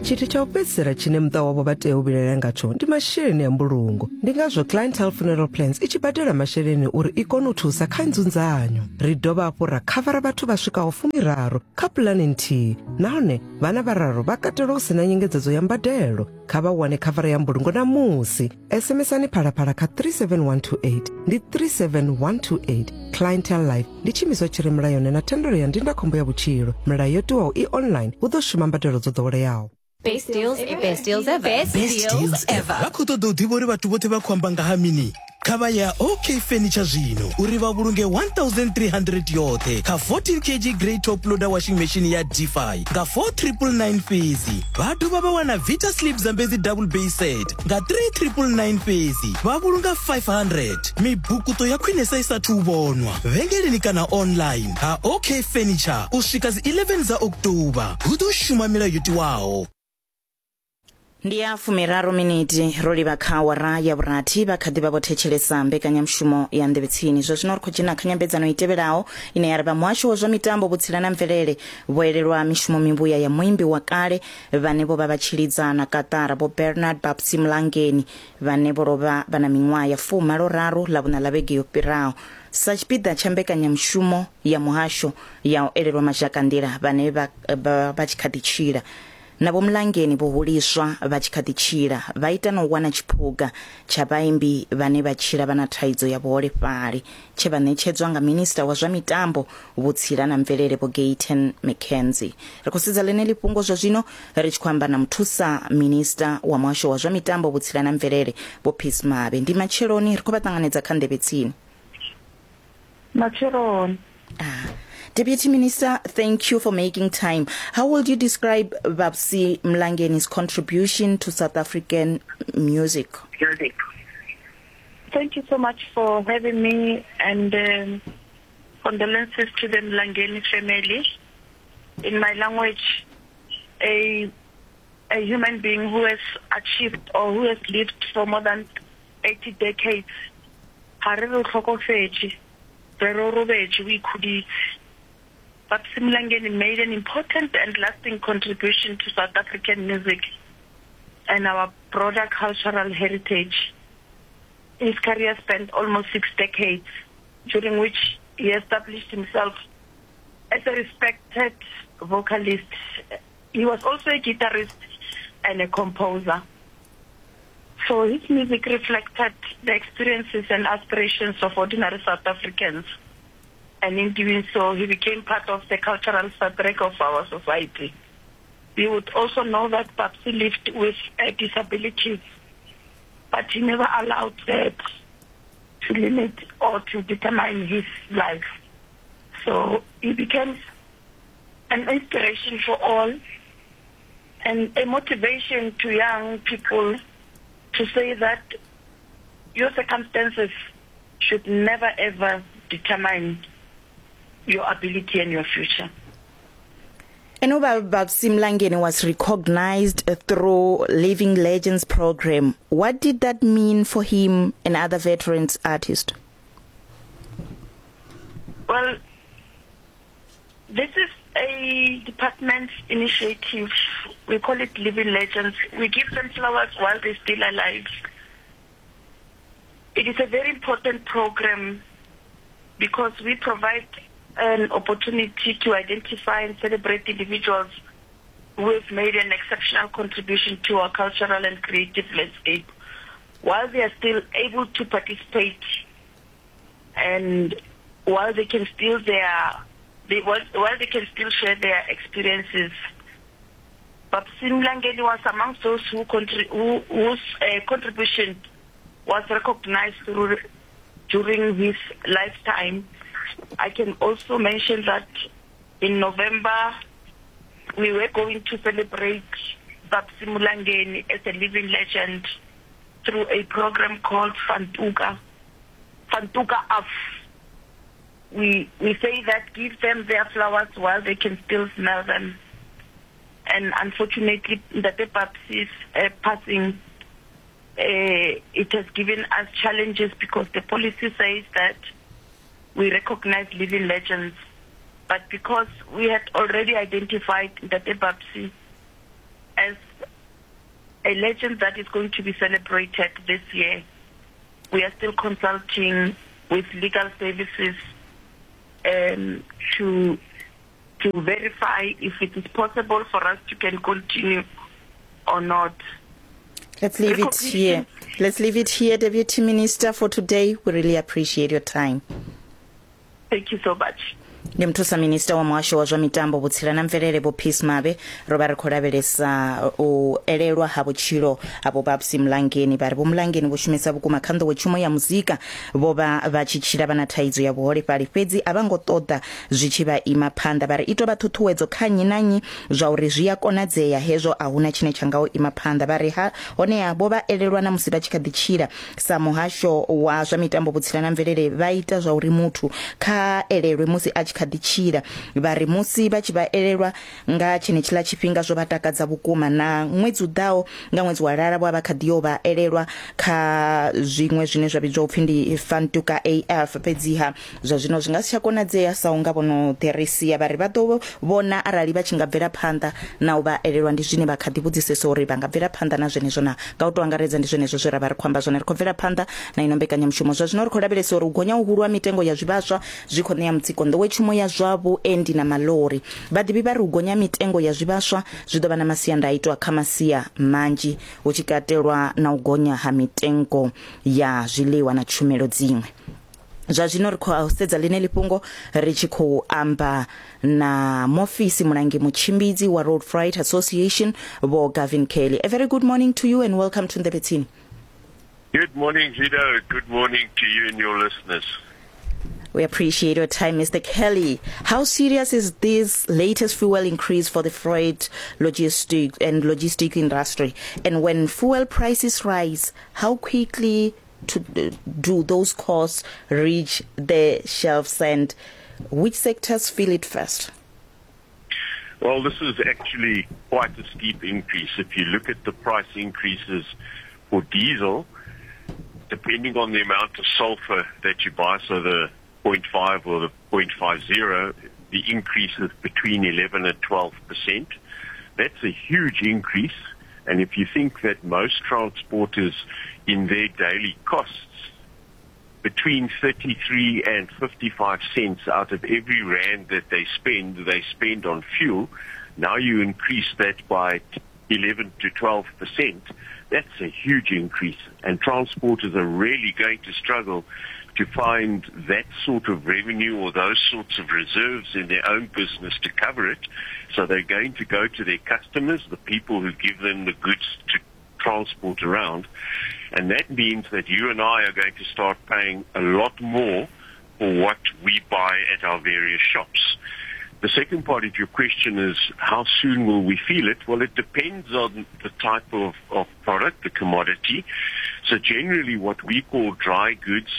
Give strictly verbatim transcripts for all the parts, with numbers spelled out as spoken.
Tshithu tsha u fhedzisela tshine muṱa wavho vha tea u vhilaela ngatsho ndi masheleni a mbulungo. Ndi ngazwo Clientele Funeral Plans i tshi badela masheleni uri i kone u thusa kha nzunzanyo. Ri dovha hafhu ra khavara vhathu vha swikaho fumiraru kha pulani nthihi, nahone vhana vhararu vha katelwa hu sina nyengedzedzo ya mbadelo. Kha vha wane khavara ya mbulungo namusi. SMSani Phalaphala kha three seven one two eight, ndi three seven one two eight. Clientele Life ndi tshiimiswa tshi re mulayoni na thendelo ya ndindakhombo ya vhutshilo. Milayo yo tiwaho i online, hu ḓo shuma mbadelo dzo ḓoweleaho. Best deals ever. Best deals ever. Best, Best deals ever. Vha khou ṱoḓa u ḓivha uri vhathu vhoṱhe vha khou amba nga ha mini? Kha vha ya OK Furniture zwino uri vha vhulunge one thousand three hundred yoṱhe kha fourteen kilogram grey top loader washing machine ya Defy nga four triple nine fhedzi. Vha dovha vha wana Vita Sleep Zambezi double bay set nga three triple nine fhedzi, vha vhulunga five hundred. Mibukuto ya khwinesa i sathu u vhonwa vhengeleni kana online ha OK Furniture u swika dzi eleven dza October. Hu ḓo shuma milayo yo tiwaho. Ndi ya fumiraru miniti ro livha kha awara ya vhurathi, vha kha ḓi vha vho thetshelesa mbekanyamushumo ya Nḓevhe Tsini. Zwa zwino ri khou dzhena kha nyambedzano i tevhelaho ine ya ri vha muhasho wa zwa mitambo, vhutsila na mvelele vho elelwa mishumo mivhuya ya muimbi wa kale vhane vho vha vha tshi lidza na kaṱara Vho Bernard Babsy Mlangeni, vhane vho lovha vha na miṅwaha ya fumalo raru ḽa vhuṋa ḽa vhege yo fhiraho. Sa tshipiḓa tsha mbekanyamushumo ya muhasho ya u elelwa mazhakanḓila vhane vha, vha, vha tshi kha ḓi tshila. Na Vho Mlangeni vho huliswa vha tshi kha ḓi tshila, vha ita na u wana tshiphuga tsha vhaimbi vhane vha tshila vha na thaidzo ya vhuholefhali, tshe vha ṋetshedzwa nga minista wa zwa mitambo, vhutsila na mvelele Vho Gayton McKenzie. Ri khou sedza ḽeneḽi fhungo zwa zwino ri tshi khou amba na muthusa minista wa muhasho wa zwa mitambo, vhutsila na mvelele Vho Peace Mabe. Ndi matsheloni, ri khou vha ṱanganedza kha Nḓevhe Tsini. Matsheloni. Ah. Deputy Minister, thank you for making time. How would you describe Babsy Mlangeni's contribution to South African music? Music. Thank you so much for having me, and um, condolences to the Mlangeni family. In my language, a, a human being who has achieved or who has lived for more than eighty decades, ha re re o hlokofetše, re re o robetše, o ikhuditse. Babsy Mlangeni made an important and lasting contribution to South African music and our broader cultural heritage. His career spanned almost six decades, during which he established himself as a respected vocalist. He was also a guitarist and a composer. So his music reflected the experiences and aspirations of ordinary South Africans. And in doing so, he became part of the cultural fabric of our society. We would also know that Babsy lived with a disability, but he never allowed that to limit or to determine his life. So he became an inspiration for all and a motivation to young people to say that your circumstances should never ever determine your ability and your future. And Babsy Mlangeni was recognized through Living Legends program. What did that mean for him and other veterans artists? Well, this is a department's initiative. We call it Living Legends. We give them flowers while they're still alive. It is a very important program because we provide an opportunity to identify and celebrate individuals who have made an exceptional contribution to our cultural and creative landscape while they are still able to participate and while they can still their they, while, while they can still share their experiences. Babsy Mlangeni was among those who, contri- who whose uh, contribution was recognized through, during his lifetime. I can also mention that in November we were going to celebrate Babsy Mlangeni as a living legend through a program called Fantuka. Fantuka Af. We, we say that give them their flowers while they can still smell them. And unfortunately, Ntate Babsy's uh, passing, uh, it has given us challenges because the policy says that we recognize living legends. But because we had already identified Ntate Babsy as a legend that is going to be celebrated this year. We are still consulting with legal services um, to to verify if it is possible for us to can continue or not. Let's leave it here. Let's leave it here, Deputy Minister, for today. We really appreciate your time. Thank you so much. Ndi muthusa minista wa muhasho wa zwa mitambo, vhutsila na mvelele, Vho Peace Mabe. Ro vha ri khou lavhelesa u elelwa ha vhutshilo ha Vho Babsy Mlangeni. Vha ri Vho Mlangeni vho shumisa vhukuma kha nḓowetshumo ya muzika. Vho vha vha tshi tshila vha na thaidzo ya vhuholefhali, fhedzi a vha ngo ṱoḓa zwi tshi vha ima phanḓa. Vha ri i tou vha ṱhuṱhuwedzo kha nnyi na nnyi zwa uri zwi a konadzea hezwo, a huna tshine tsha nga u ima phanḓa. Vha ri ha honeha vho vha elelwa na musi vha tshi kha ḓi tshila sa muhasho wa zwa mitambo, vhutsila na mvelele, vha ita zwa uri muthu kha elelwe musi a tshi kha ḓi tshila. Vha ri musi vha tshi vha elelwa nga tshenetshiḽa tshifhinga zwo vha takadza vhukuma. Na ṅwedzi u ḓaho nga ṅwedzi wa lara vho vha kha ḓi yo vha elelwa kha zwiṅwe zwine zwa vhidzwa upfhi ndi Fantuka A F, fhedziha zwa zwino zwi nga si tsha konadzea sa unga vhono ḓi. Vha ri vha ḓo vhona arali vha tshi nga bvela phanḓa na u vha elelwa, ndi zwine vha kha ḓi vhudzisesa uri vha nga bvela phanḓa na zwenezwo na. Nga u tou angaredza ndi zwenezwo zwe ra vha ri khou amba zwone. Ri khou bvela phanḓa na ino mbekanyamushumo. Zwa zwino ri khou lavhelesa uri u gonya uhulu ha mitengo ya zwivhaswa zwi khou ṋea mutsiko nḓowetshumo ya zwa vhuendi na malori. Vhaḓivhi vha ri u gonya mitengo ya zwivhaswa zwi ḓo vha na masiandaitwa kha masia manzhi, hu tshi katelwa na u gonya ha mitengo ya zwiḽiwa na tshumelo dziṅwe. Zwa zwino ri khou sedza ḽine fhungo ri tshi khou amba na mofisi mulangi mutshimbidzi wa Road Freight Association, Vho Gavin Kelly. A very good morning to you and welcome to Nḓevhe. Good morning, Guido. Good morning to you and your listeners. We appreciate your time, Mister Kelly. How serious is this latest fuel increase for the freight logistic and logistic industry? And when fuel prices rise, how quickly to do those costs reach the shelves, and which sectors feel it first? Well, this is actually quite a steep increase. If you look at the price increases for diesel, depending on the amount of sulfur that you buy, so the zero point five or the zero point five zero, the increase is between eleven and twelve percent. That's a huge increase. And if you think that most transporters in their daily costs, between thirty-three and fifty-five cents out of every rand that they spend, they spend on fuel. Now you increase that by eleven to twelve percent. That's a huge increase. And transporters are really going to struggle to find that sort of revenue or those sorts of reserves in their own business to cover it. So they're going to go to their customers, the people who give them the goods to transport around. And that means that you and I are going to start paying a lot more for what we buy at our various shops. The second part of your question is, how soon will we feel it? Well, it depends on the type of, of product, the commodity. So generally what we call dry goods,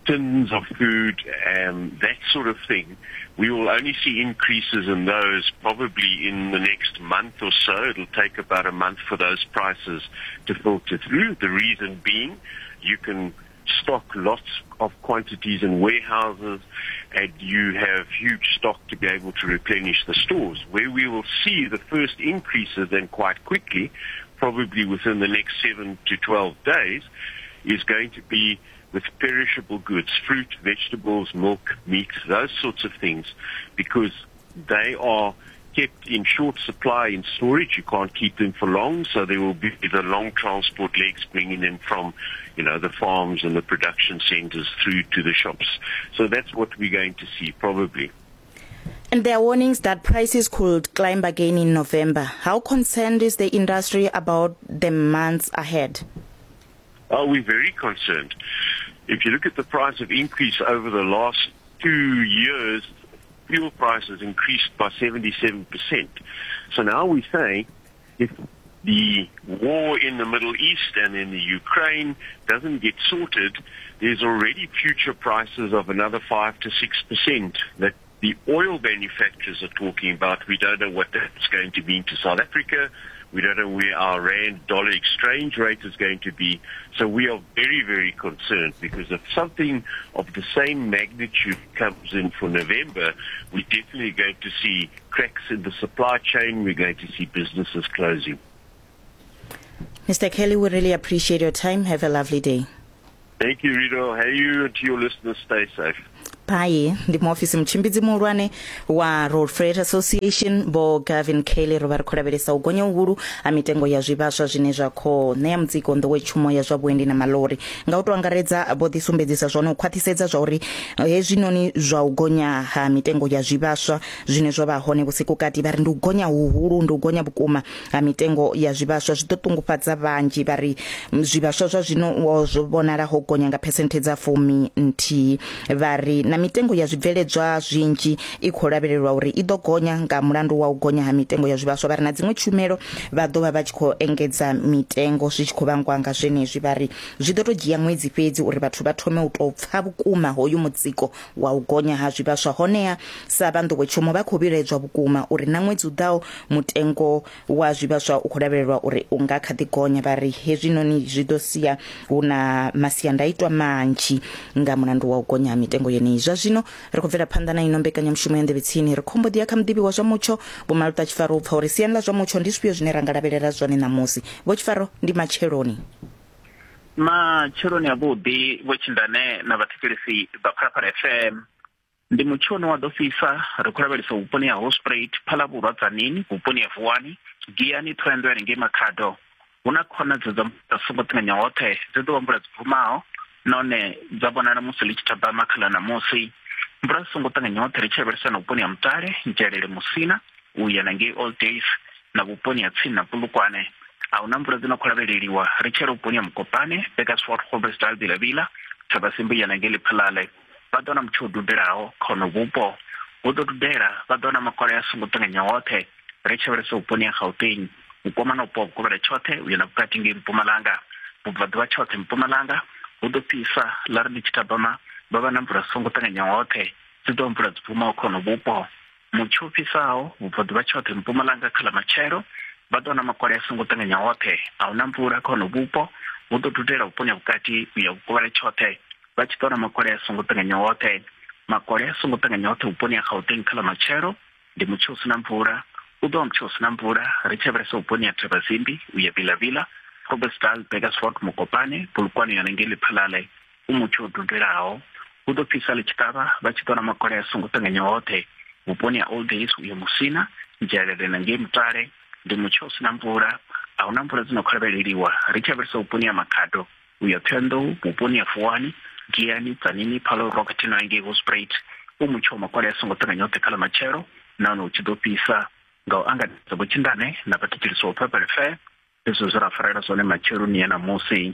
tins of food, um, that sort of thing, we will only see increases in those probably in the next month or so. It'll take about a month for those prices to filter through. The reason being, you can stock lots of quantities in warehouses and you have huge stock to be able to replenish the stores. Where we will see the first increases, and quite quickly, probably within the next seven to twelve days, is going to be with perishable goods, fruit, vegetables, milk, meat, those sorts of things, because they are kept in short supply in storage. You can't keep them for long, so there will be the long transport legs bringing them from, you know, the farms and the production centers through to the shops. So that's what we're going to see probably. And there are warnings that prices could climb again in November. How concerned is the industry about the months ahead? Oh, we're very concerned. If you look at the price of increase over the last two years, fuel prices increased by seventy-seven percent. So now we say if the war in the Middle East and in the Ukraine doesn't get sorted, there's already future prices of another five to six percent that the oil manufacturers are talking about. We don't know what that's going to mean to South Africa. We don't know where our rand-dollar exchange rate is going to be. So we are very, very concerned, because if something of the same magnitude comes in for November, we're definitely going to see cracks in the supply chain. We're going to see businesses closing. Mister Kelly, we really appreciate your time. Have a lovely day. Thank you, Rito. Hey, you and to your listeners, stay safe. Pai ndi muofisi mutshimbidzi muhulwane wa Road Freight Association Vho Gavin Kelly. Ro vha ri khou lavhelesa u gonya huhulu ha mitengo ya zwivhaswa zwine zwa khou ṋea mutsiko nḓowetshumo ya zwa vhuendi na malori. Nga u tou angaredza vho ḓisumbedzisa zwone u khwaṱhisedza zwa uri hezwinoni zwa u gonya ha mitengo ya zwivhaswa zwine zwa vha hone vhusiku kati, vha ri ndi u gonya huhulu, ndi u gonya vhukuma ha mitengo ya zwivhaswa zwi ḓo ṱungufhadza vhanzhi. Vha ri zwivhaswa zwa zwino zwo vhonala ho gonya nga phesenthe dza fumi nthihi. Vha ri na mitengo ya zwibveledzwa zwinzhi i khou lavhelelwa uri i ḓo gonya nga mulandu wa u gonya ha mitengo ya zwivhaswa. Vha ri na dziṅwe tshumelo vha ḓo vha vha tshi khou engedza mitengo zwi tshi khou vhangwa nga zwenezwi. Vha ri zwi ḓo tou dzhia ṅwedzi fhedzi uri vhathu vha thome u tou pfa vhukuma hoyu mutsiko wa u gonya ha zwivhaswa. Honeha sa vha nḓowetshumo vha khou vhiledzwa vhukuma uri na ṅwedzi u ḓaho mutengo wa zwivhaswa u khou lavhelelwa uri u nga kha ḓi gonya. Vha ri hezwinoni zwi ḓo sia hu na masiandaitwa manzhi nga mulandu wa u gonya ha mitengo yeneyi. Zwa zwino ri khou bvela phanḓa na ino mbekanyamushumo ya Nḓevhe Tsini. Ri khombo ḓi ya kha muḓivhi wa zwa mutsho Vho Maluta Tshifaro u pfa uri siani ḽa zwa mutsho ndi zwifhio zwine ra nga lavhelela zwone ṋamusi. Vho Tshifaro, ndi matsheloni. Matsheloni avhuḓi Vho Tshindane na vhathetshelesi vha Phalaphala F M. Ndi mutsho une wa ḓo fhisa, ri khou lavhelesa vhuponi ha Hospruit, Phalavhurwa, Tzaneen, vhuponi ha Vuwani, Giyani, Thohoyandou ngei Makhado. Hu na khonadzeo dza mvula songo ṱanganya hoṱhe, dzi ḓo vha mvula dzi bvumaho nahone dza vhonala musi ḽi tshi thabama kha ḽa ṋamusi. Mvula dzi songo ṱanganya hoṱhe ri tshi lavhelesa na vhuponi ha Mutale, Nzhelele, Musina u ya na ngei Old Days na vhuponi ha tsini na Polokwane. A huna mvula dzi no khou lavheleliwa ri tshi yela vhuponi ha Mokopane, Bakersford, Groblersdal, Vilavila, Thabazimbi ya na ngei Lephalale. Vha ḓo na mutsho u dudelaho kha hono vhupo, hu ḓo dudela, vha ḓo na makole a songo ṱanganya hoṱhe ri tshi lavhelesa vhuponi ha Gauteng, vhukoma na vhupo ha vhukovhela tshoṱhe u ya na vhukati ngei Mpumalanga, vhubvaḓuvha tshoṱhe Mpumalanga. Hu ḓo fhisa ḽa ri ḽi tshi thabama vha vha na mvula songo ṱanganya hoṱhe, dzi ḓo mvula dzi bvumaho kha hono vhupo. Mutsho u fhisaho vhubvaḓuvha tshoṱhe Mpumalanga kha ḽa matshelo vha ḓo na makole a songo ṱanganya hoṱhe, a huna mvula kha hono vhupo. Hu ḓo dudela vhuponi ha vhukati u ya vhukovhela tshoṱhe vha tshi ḓo na makole a songo ṱanganya hoṱhe. Makole a songo ṱanganya hoṱhe vhuponi ha Gauteng kha ḽa matshelo ndi mutsho u si na mvula, u ḓo vha mutsho u si na mvula ri tshi lavhelesa vhuponi ha Thabazimbi u ya Vilavila, Groblersdal, Bakersford, Mokopane, Polokwane yone ngei Lephalale, u mutsho u dudelaho. Hu ḓo fhisa ḽi tshi ṱavha vha tshi ḓo na makole a songo ṱanganya hoṱhe vhuponi ha Old Days u ya Musina, Nzhelele na ngei Mutale ndi mutsho u si na mvula, a huna mvula dzi no khou lavheleliwa ri tshi lavhelesa vhuponi ha Makhado u ya Thohoyandou, vhuponi ha Vuwani, Giyani, Tzaneen, Paarl, Rockton na ngei Hospruit, u mutsho wa makole a songo ṱanganya hoṱhe kha ḽa matshelo nahone hu tshi ḓo fhisa. Nga u angaredza Vho Tshindane na vhathetshelesi vha Phalaphala F M, hezwo zwe ra farela zwone matsheloni ya ṋamusi.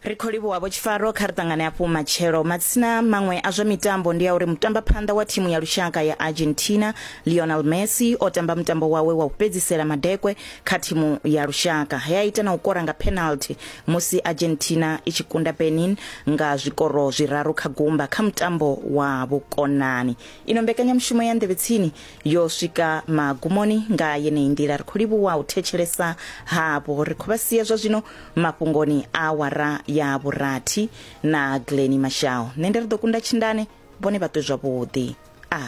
Ri khou livhuwa Vho Tshifaro, kha ri ṱangane hafhu matshelo. Matsina maṅwe a zwa mitambo ndi a uri mutambaphanḓa wa thimu ya lushaka ya Argentina Lionel Messi o tamba mutambo wawe wa u fhedzisela madekwe kha thimu ya lushaka. He a ita na u kora nga penalty musi Argentina i tshi kunda Benin nga zwikoro zwiraru kha gumba kha mutambo wa vhukonani. Ino mbekanyamushumo ya Nḓevhe Tsini yo swika magumoni nga yeneyi nḓila. Ri khou livhuwa u thetshelesa havho. Ri khou vha sia zwa zwino mafhungoni a awara ya vhurathi na Glenny Mashao. Nṋe ndi ri ḓo kunda Tshindane, vhone vha ṱwe zwavhuḓi. A